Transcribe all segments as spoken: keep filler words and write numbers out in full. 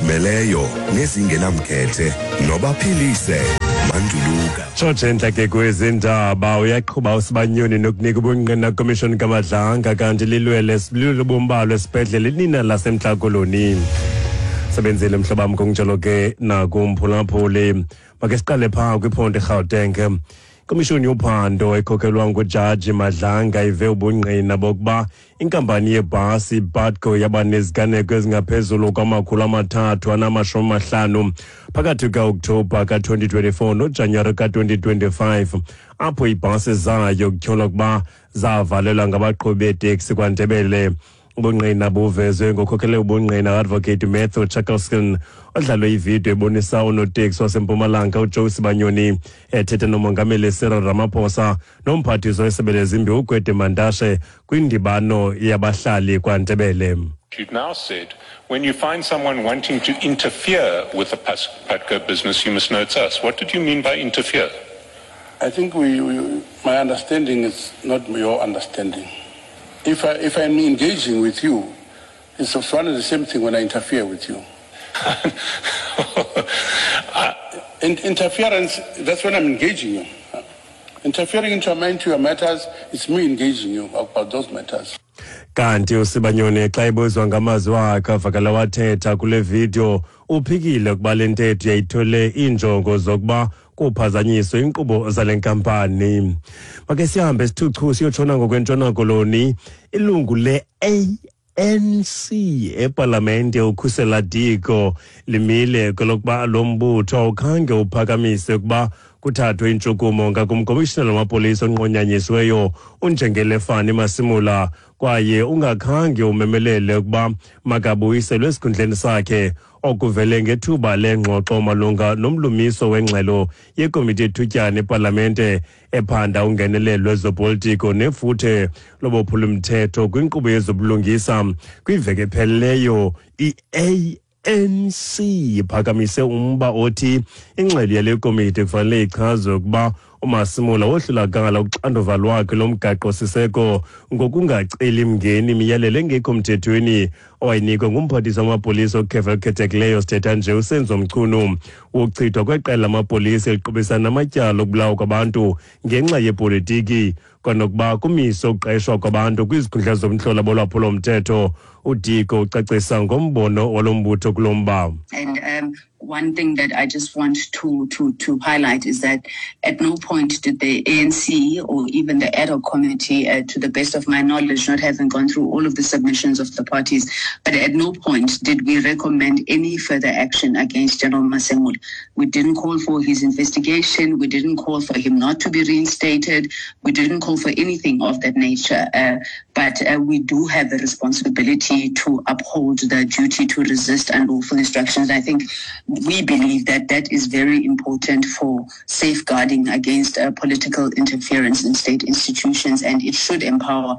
Ezizimeleyo nezingenamkhethe nobaphilise Manduluka. Tshotshe ke kwezindaba, uyaqhuba uSibanyoni nokunika ubungqina komishoni kaMadlanga, kanti lilwele lubombalwa esibhedlele nina laseMntla Koloni. Sebenzile mhlobam kunjalo ke nakumphulaphuli. Make siqale phaa kwiphondo eGauteng. Ikomishoni yophando ekhokelwa ngujaji Madlanga ive ubungqina bokuba inkampani yebhasi iPutco yaba neziganeko ezingaphezulu kwamakhulu amathathu anamashumi amahlanu phakathi kuka-Okthobha ka-twenty twenty-four noJanuwari ka-twenty twenty-five, apho iibhasi zayo kutyholwa ukuba zavalelwa ngabaqhubi beeteksi kwaNdebele. Ubungqina buvezwe ngokhokhele ubungqina Advocate Matthew Chaskalson, odlalwe ividiyo ebonisa unoteksi waseMpumalanga uJoe Sibanyoni ethetha nomongameli Cyril Ramaphosa nomphathiswa wesebe lezimbiwa uGwede Mantashe kwindibano yabahlali kwaNdebele. You've now said, when you find someone wanting to interfere with the Putco business, you must know it's us. What did you mean by interfere? I think we, we, my understanding is not your understanding. If, I, if I'm engaging with you, it's one of the same thing when I interfere with you. uh, in, interference, that's when I'm engaging you. Interfering into, into your matters, it's me engaging you about those matters. Kanti uSibanyoni xa ebuzwa ngamazwi akhe avakala wathetha kule video, uphikile ukuba le ntetho yayithole iinjongo zokuba kuphazanyiswe inkqubo zale nkampani. Make sihambe sithuchu siyotshona ngokwentshona koloni. Ilungu le-A N C epalamente uKhusela Diko limile kwelokuba lo mbutho awukhange uphakamise ukuba kuthathwe intshukumo ngakumkomishinala wamapolisa onqonyanyisiweyo uNjengele Fani Masimula, kwaye ungakhange umemelele ukuba makabuyiselwe esikhundleni sakhe, okuvele ngethuba lengxoxo malunga nomlumiso wengxelo yekomiti yethutyana epalamente ephanda ungenelelo lwezopolitiko nefuthe lobophulumthetho kwinkqubo yezobulungisa. Kwiveki ephelileyo i-A N C iphakamise umba othi ingxelo yale komiti kufanele ichazwe ukuba uMasimula wohlulakala uxanduva lwakhe lomgaqo-siseko ngokungaceli mngeni imiyalelo engekho mthethweni owayinikwa ngumphathiswa wamapolisa okhefa olukhethekileyo sithetha nje uSenzo Mchunu wokuchithwa kweqela lamapolisa eliqubisana namatyala okubulawa kwabantu ngenxa yepolitiki, kwanokuba kumiswe ukuqeshwa kwabantu kwizikhundla zomhlola bolwaphulomthetho. uDiko ucacisa ngombono walo mbutho kulo mba. And um, one thing that I just want to, to, to highlight is that at no point did the A N C or even the ad hoc committee, uh, to the best of my knowledge, not having gone through all of the submissions of the parties, but at no point did we recommend any further action against General Masemola. We didn't call for his investigation. We didn't call for him not to be reinstated. We didn't call for anything of that nature. Uh, but uh, we do have a responsibility to uphold the duty to resist unlawful instructions. I think we believe that that is very important for safeguarding against uh, political interference in state institutions, and it should empower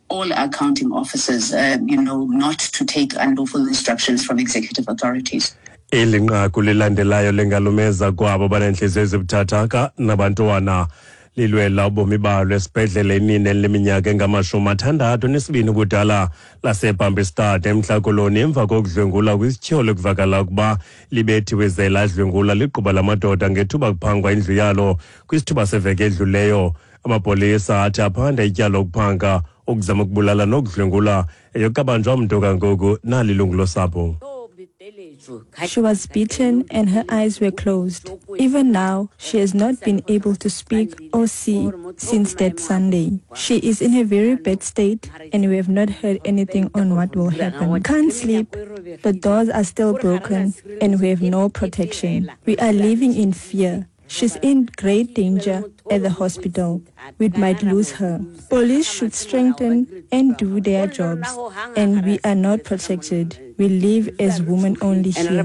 all accounting officers, uh, you know, not to take unlawful instructions from executive authorities. Eli nqaku lilandelayo lengalumeza kwabo banentliziyo ezibuthathaka nabantwana lilwela ubomi balo esibhedlele inina eliminyaka engamashumi athandathu nesibini ubudala laseBambiestad eMntla Koloni emva kokudlwengula kwisityholo ekuvakala ukuba libethiwe ze ladlwengula ligquba lamadoda ngethuba kuphangwa indlu yalo kwisithuba seveki edluleyo. Amapolisa athi aphanda ityala lokuphanga, ukuzama ukubulala nokudlwengula. Eyokabanjwa mntu kangoku nalilungu losapho. She was beaten and her eyes were closed. Even now, she has not been able to speak or see since that Sunday. She is in a very bad state and we have not heard anything on what will happen. Can't sleep, the doors are still broken and we have no protection. We are living in fear. She's in great danger at the hospital. We might lose her. Police should strengthen and do their jobs, and we are not protected. We live as women only here.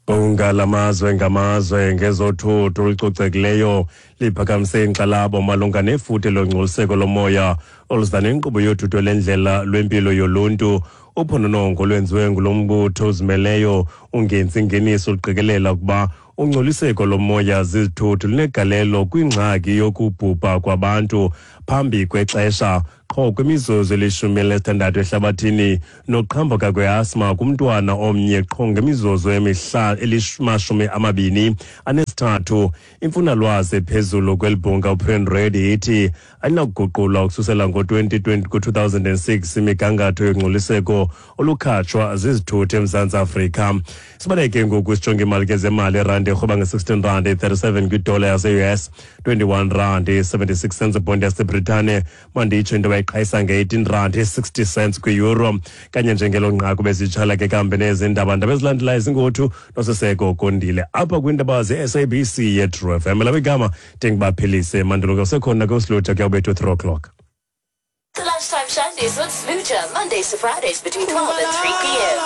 Bhunga lamazwe ngamazwe ngezothutho olucocekileyo liphakamise inkxalabo malunga nefuthe longcoliseko lomoya oluza nenkqubo yothutho lendlela lwempilo yoluntu. Uphononongo lwenziwe ngulo mbutho ozimeleyo ungenzi ingeniso luqikelela ukuba ungcoliseko lomoya zizithuthu lunegalelo kwingxaki yokubhubha kwabantu phambi kwexesha qho kwimizuzu elishumi elinesithandathu ehlabathini, noqhambuka kwe-asthma kumntwana omnye qho ngemizuzu elimashumi amabini anesithathu. Imfunalwazi ephezulu kweli bhunga uPrem Reddy ithi ayinakuguqulwa ukususela ngo-twenty twenty ku-two thousand and six imigangatho yongcoliseko olukhatshwa zizithuthi eMzantsi Afrika. Sibaleke ngoku sijonge imali ke zemali. Irandi irhweba nge-sixteen rand thirty-seven kwidola yase-U S, twenty-one rand seventy-six cents ibhondi yaseBritane. Manditsho into bayiqhayisa nge-eighteen rand sixty cents kwi-euro. Kanye njengelo nqaku bezitshala ke kambe nezindaba ndaba ezilandelayo zingothu noSiseko Kondile apha kwiindaba ze-S A B C ye-True F M. Lam igama ndinguBaphilise Manduluka, usekhona kusilutha kuyawubethu three o'clock. The Lunchtime Shandies with Smoocher, Mondays to Fridays between twelve and three p m